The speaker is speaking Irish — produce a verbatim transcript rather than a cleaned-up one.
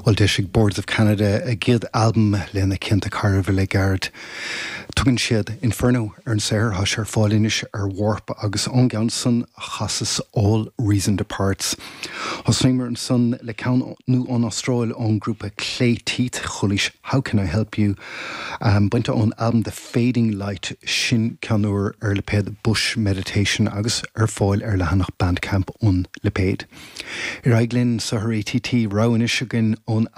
Well d'eisigh Boards of Canada a gcéad albam lena cianta carbh le gairid. Tugann siad Inferno ar an saothar tá sé ar fáil anois ar Warp agus ón gceann san chasas All Reason Departs. Thosnaíomar ansan le ceann nua ón Astráil ón grúpa Clay Teeth chualaís How Can I Help You um, bainte ón album The Fading Light sin ceann úr ar lipéad Bush Meditation agus ar fáil ar leathanach Bandcamp an lipéid. Ar aghaidh linn sa ATT rogha anois againn ón album